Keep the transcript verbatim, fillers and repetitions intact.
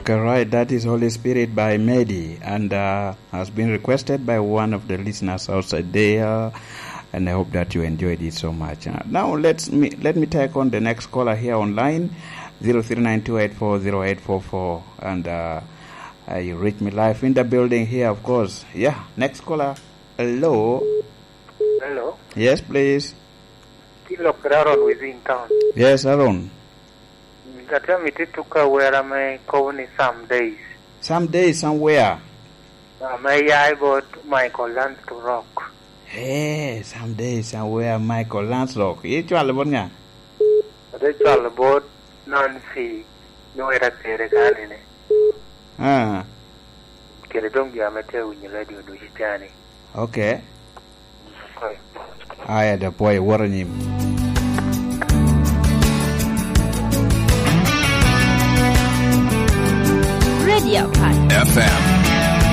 All right, that is Holy Spirit by Medi, and, uh, has been requested by one of the listeners outside there, and I hope that you enjoyed it so much. Uh, now let's me, let me take on the next caller here online, zero three nine two eight four zero eight four four, and, uh, uh, you reach me live in the building here, of course. Yeah, next caller. Hello. Hello. Yes, please. Ti lok Aaron within town. Yes, Aaron. Atye amito ituka wera me kobo ni Some Days. Some Days Somewhere. Ah, me ya i bot Michael Lance to Rock. Hey, Some Days Somewhere, Michael Lance Rock. Icwalo bot ŋa? Ate cwalo bot Nancy, nwoŋo ite atere kanene. Ah. Kede doŋ jo ame tye awinyo radio ducu cani. Okay. Aya, da pwoyo, wot anyim. Radio Park. F M.